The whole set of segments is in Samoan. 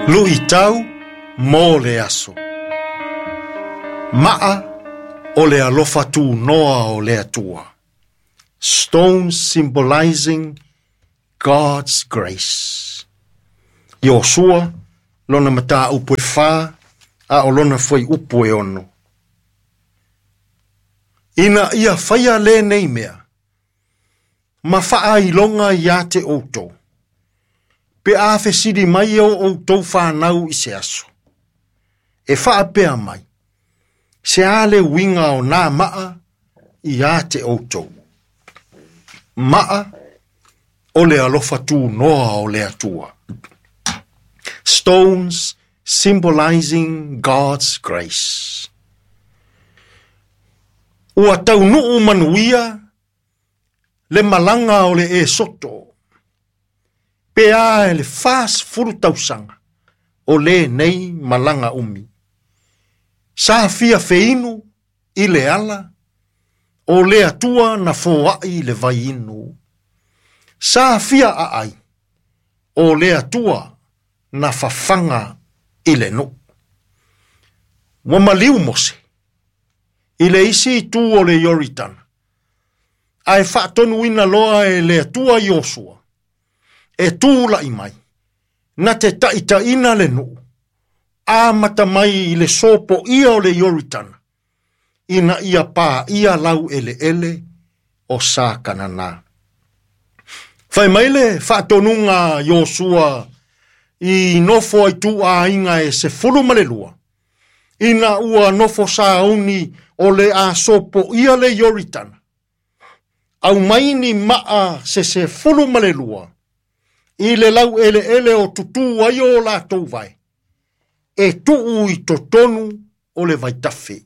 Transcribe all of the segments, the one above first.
Luʻitau mo le aso. Maʻa o le alofa tunoa o le Atua. Stones symbolizing God's grace. Iosua, lona mataupu e 4, a o lona fuaiupu e 6. Ina ia faia lenei mea, ma faailoga ia te outou, pe a fesili mai o outou whanau i se aso. E whaapea mai, se a le uiga o nā maa ia te outou. Maa o le alofa tunoa o le Atua. Stones symbolizing God's grace. Ua taunuu manuia le malaga o le Esoto. Pe a e le 40 tausaga o lenei malaga umi. Sa fia feinu i le ala o le Atua na foai le vaiinu. Sa fia aai o le Atua na fafaga i le nuu. Ua maliu Mose i le isi itu o le Ioritana, ae faatonuina loa e le Atua Iosua, e tula'i mai, na te taʻitaʻina le nuu, amata mai i le sopoia o le Ioritana, ina ia paia lau eleele o sa Kanana. Fai mai le faatonuga Iosua i nofo ai tuaiga e 12, ina ua nofo sauni o le a sopoia le Ioritana. Au mai ni maa se 12, i le lau eleele o tutu ai o latou vai, e tuu i totonu o le vaitafe.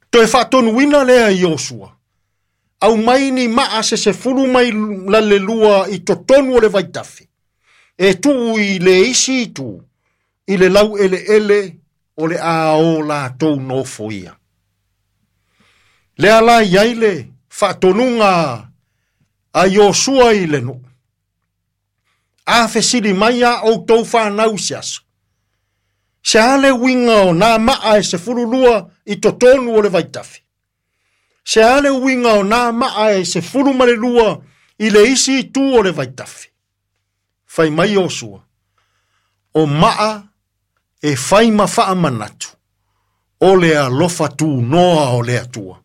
Toe faatonuina lea Iosua, au mai ni maa se 12 i totonu o le vaitafe, e tuu i le isi itu, i le lau eleele o le a o latou nofoia. Lea la iai le faatonuga a Iosua i le nuu. A fesili mai a outou whanau i se aso. Se a le uiga o nā maa e 12 i totonu o le vaitafe. Se a le uiga o nā maa e 12 i le isi itu o le vaitafe. Fai mai Iosua, o maa e fai ma faamanatu, o le alofa tunoa o le Atua.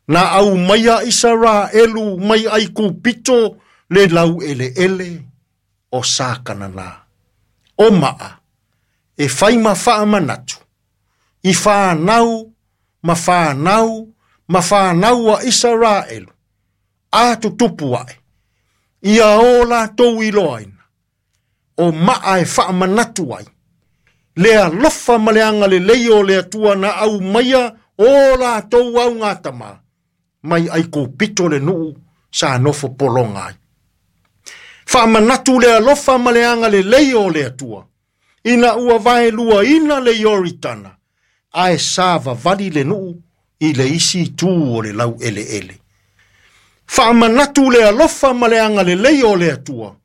Na au maia Isaraelu mai Aikupito le lau eleele o sa Kanana. O maa e fai ma faamanatu, i whanau, ma whanau, ma whanau a Isaraelu, a tutupu ae, ia o latou iloaina, o maa e faamanatu ai, le alofa ma le agalelei o le Atua na au maia o latou augatama, mai Aikupito le nuu sa nofo pologa ai. Faamanatu le alofa ma le agalelei o le Atua, ina ua vaeluaina le Ioritana, ae sa vavali le nuu i le isi itu o le lau eleele. Faamanatu le alofa ma le agalelei o le Atua,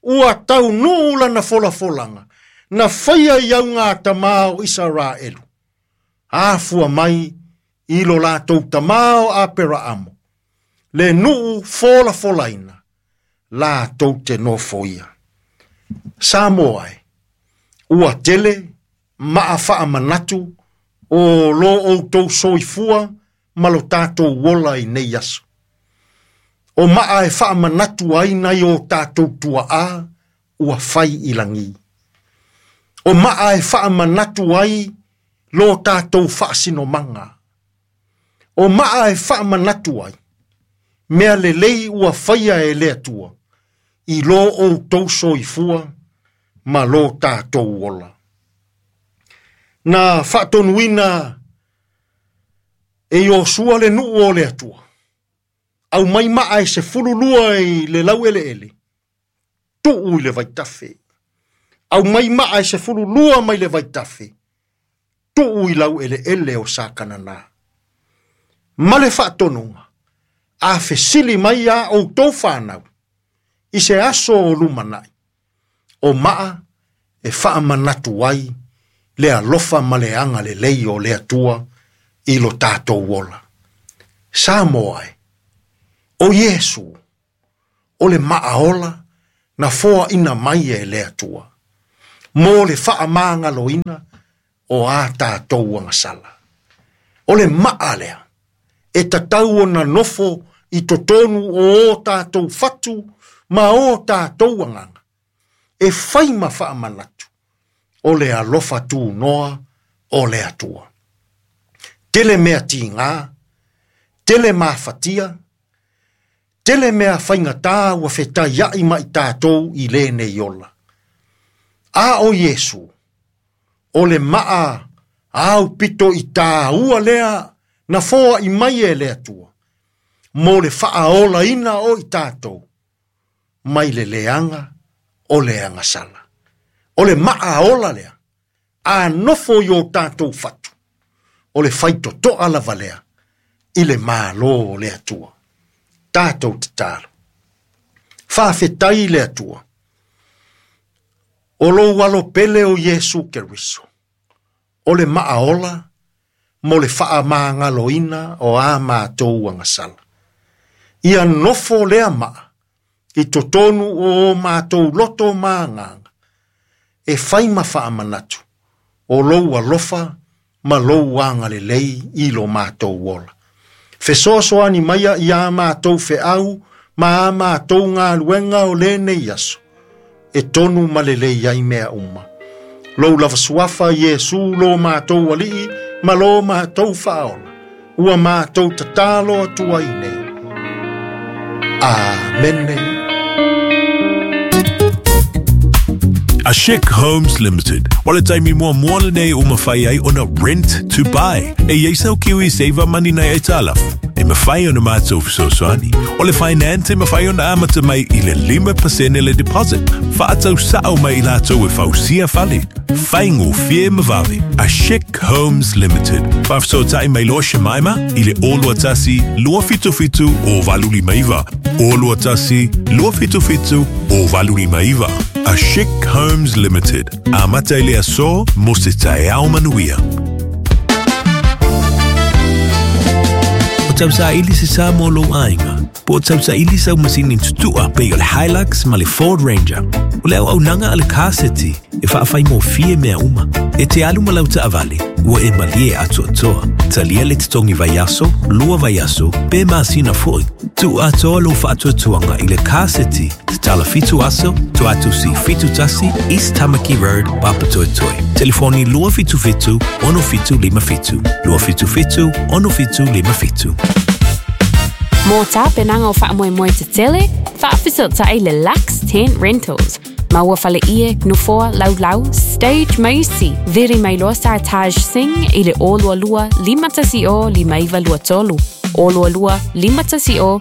ua taunuu lana folafolaga, na faia i augatama o Isaraelu. Afua mai i lo latou tamā o Aperaamo, le nuu folafolaina, latou te nofoia. Samoa e, ua tele maa faamanatu o lo outou soifua ma lo tatou ola i nei aso. O maa e faamanatu ai nai o tatou tuaa ua fai i lagi. O maa e faamanatu ai lo tatou faasinomaga. O maa e faamanatu ai, mea lelei ua faia e le Atua, i lo outou soifua ma lo tatou ola. Na faatonuina e Iosua le nuu o le Atua, au mai maa e 12 i le lau eleele, tuu i le vaitafe. Au mai maa e 12 mai le vaitafe, tuu i lau eleele o sa Kanana. Ma le faatonuga, a fesili mai a outou whanau, i se aso o lumanai, o maa e faamanatu ai le alofa ma le agalelei o le Atua i lo tatou ola. Samoa e, o Iesu, o le maaola na foaina mai e le Atua, mo le faamagaloina o a tatou agasala. O le maa lea, e tatau ona nofo i totonu o o tatou fatu ma o tatou agaga, e fai ma faamanatu o le alofa tunoa o le Atua. Tele mea tiga, tele mafatia, tele mea faigata ua fetaiai ma i tatou i lenei ola. A o Iesu, o le maa au pito i tāua lea na foai mai e le Atua, mo le faaolaina o i tatou, mai le leaga o le agasala. O le maa ola lea, a nofo i o tatou fatu, o le faitotoa lava lea, i le malo o le Atua. Tatou tatalo. Faafetai le Atua. O lou alo pele o Iesu Keriso, o le maaola mo le faamagaloina o a matou agasala. Ia nofo lea maa, i totonu o o matou loto ma agaga, e fai ma faamanatu, o lou alofa ma lou agalelei i lo matou ola. Fesoasoani maia ia matou feau ma a matou galuega o lenei aso, e tonu ma lelei ai mea uma. Lou lava suafa Iesu lo matou alii ma lo matou faaola, ua matou tatalo atu ai nei. Amene. A Chic Homes Limited. O le taimi muamua lenei ua mafai ai ona rent to buy. E i ai sau Kiwi Saver Money nai aitalafu. E mafai ona matou fesoasoani. O le finance e mafai ona amata mai i le 5% le deposit. Faatau sao mai i latou e fausia fale. Faigofie ma vave. A Chic Homes Limited. Faafesootai mai loa Shemaima i le 021 277 0859. 021 277 0859. A Chic Homes Limited. Amata i le aso mo se taeao manuia. O tausaili se sa mo lou aiga, po o tausaili sau masini tutua pei o le Hilux ma le Ford Ranger. O le auaunaga a le Car City e faafaigofie mea uma. E te alu ma lau taavale, ua e malie atoatoa. Talia le totogi vaiaso, 2 vaiaso, pe masina foi. Tuu atoa lou faatuatuaga i le Car City, tatala 7 aso, Tuatusi 71, East Tamaki Road, Papatoetoe. Telefoni 277 6757, 277 6757. Mo tapenaga o faamoemoe tetele, faafesootai le Lux Tent Rentals. Maua faleie, nofoa, laulau, stage ma isi. Vili mai loa Sartaj Singh i le 022 510 5923. 022 510